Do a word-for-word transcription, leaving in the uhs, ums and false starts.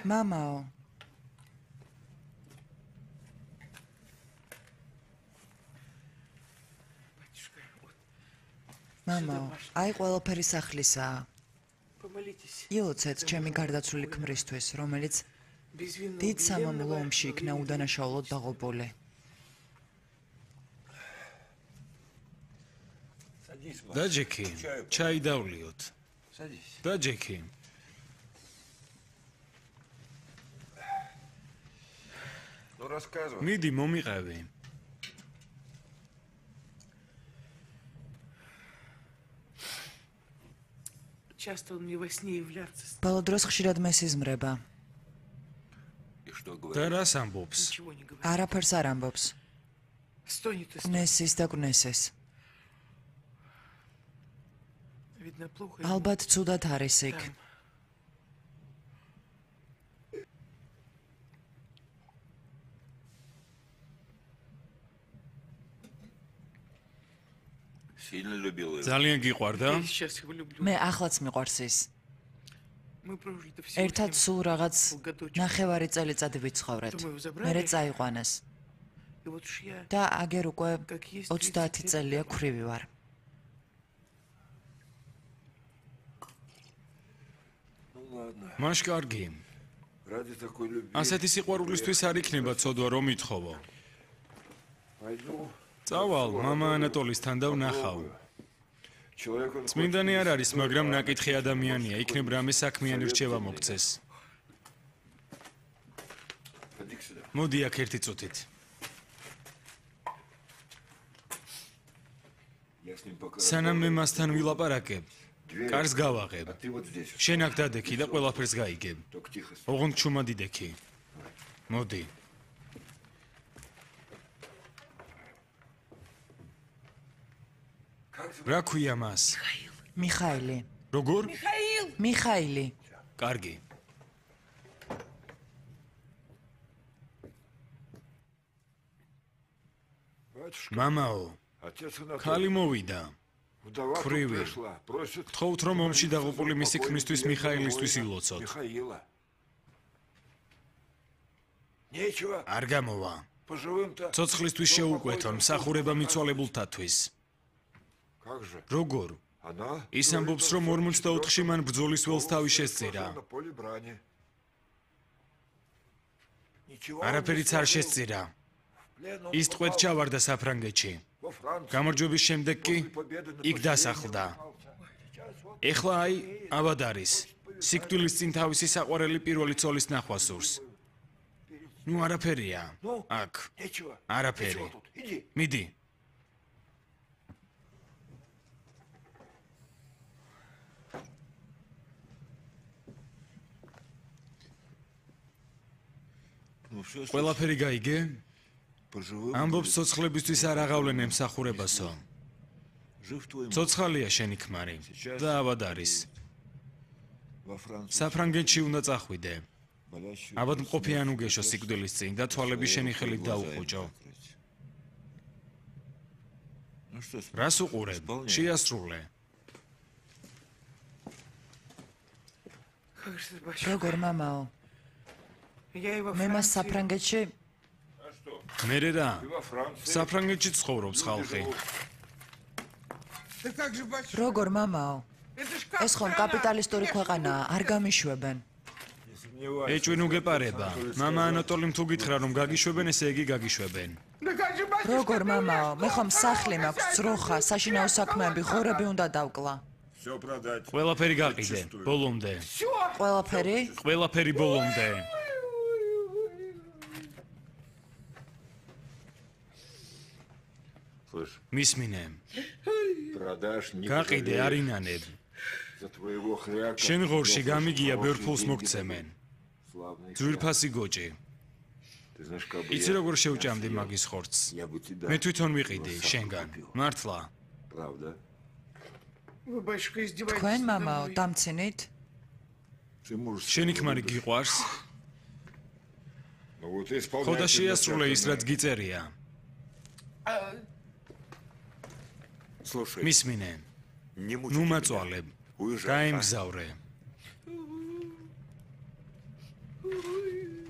მამაო. მამაო, აი ყველაფერი სახლისაა. ილოცეთ ჩემი გარდაცვლილი ქმრისთვის, რომელიც დიდ სამამულო ომში იქნა უდანაშაულოდ დაღუპული. დაჯექი, ჩაი დავლიოთ. დაჯექი. მიდი მომიყევი. ბოლო დროს ხშირად მესიზმრება. და რას ამბობს? არაფერს არ ამბობს. ნესის და გნესეს. ალბათ ცუდად არის იქ. ძალიან გიყვარდა? მე ახლაც მიყვარს ის. ერთად სულ რაღაც ნახევარი წელიწადი ვიცხოვრეთ. მერე წაიყვანეს. და აგერ უკვე ოცდაათი წელია ქვრივი ვარ. მაშ კარგი. ასეთი სიყვარულისთვის არ იქნება ცოდვა რომ ითხოვო. წავალ, მამა ანატოლისთან და ვნახავ. წმინდანი არ არის, მაგრამ ნაკითხი ადამიანია, იქნებ რამე საქმიანი რჩევა მოგცეს. მოდი აქ ერთი წუთით. სანამ მე მასთან ვილაპარაკებ, კარს გავაღებ. შენ აქ დადექი და ყველაფერს გაიგებ. ოღონდ ჩუმად იდექი. მოდი. რა ქვია მას? მიხაილი. როგორ? მიხაილი. კარგი. მამაო, ქალი მოვიდა. ქვრივი. გთხოვთ რომ ომში დაღუპული მისი ქმრისთვის მიხაილისთვის ილოცოთ. არ გამოვა. ცოცხლისთვის შეუკვეთო მსახურება მიცვალებულთათვის. როგორ? ის ამბობს რომ ორმოცდაოთხში მან ბრძოლის ველს თავი შესწირა. არაფერიც არ შესწირა. ის ტყვედ ჩავარდა საფრანგეთში. გამარჯვების შემდეგ კი იქ დასახლდა. ეხლა აი ავად არის. სიკვდილის წინ თავისი საყვარელი პირველი ცოლის ნახვა სურს. ნუ არაფერია. აქ. არაფერი. მიდი. ყველაფერი გაიგე? ამბობს ცოცხლებისთვის არ აღავლენ ემსახურებასო. ცოცხალია შენი ქმარი და ავად არის. საფრანგეთში უნდა წახვიდე. აბად მყოფი ან უგეშო სიკვდილის წინ და თვალები შენი ხელით დაუხუჭო. რას უყურებ? შეასრულე. როგორ მამაო? მე მას საფრანგეთში მერე რა? საფრანგეთში ცხოვრობს ხალხი. როგორ მამაო? ეს ხომ კაპიტალისტური ქვეყანაა, არ გამიშვებენ. ეჭვი ნუ გეპარება. მამა ანატოლიმ თუ გითხრა რომ გაგიშვებენ, ესე იგი გაგიშვებენ. როგორ მამაო? მე ხომ სახლი მაქვს, ძროხა, საშინაო საქმეები, ღორები უნდა დავკლა. ყველაფერი გაყიდე, ბოლომდე. ყველაფერი? ყველაფერი ბოლომდე. მისმინე. გაყიდე, არ ინანებ. შენ ღორში გამიგია ბევრ ფულს მოგცემენ. ძვირფასი გოჭი. იცი როგორ შევჭამდი მაგის ხორცს? მე თვითონ ვიყიდი შენგან. მართლა. თქვენ მამაო, დამცინით? შენი ქმარი გიყვარს? ხო და შეასრულე ის, რაც გიწერია. მისმინე. ნუ მაწვალებ. გაემგზავრე. Ой.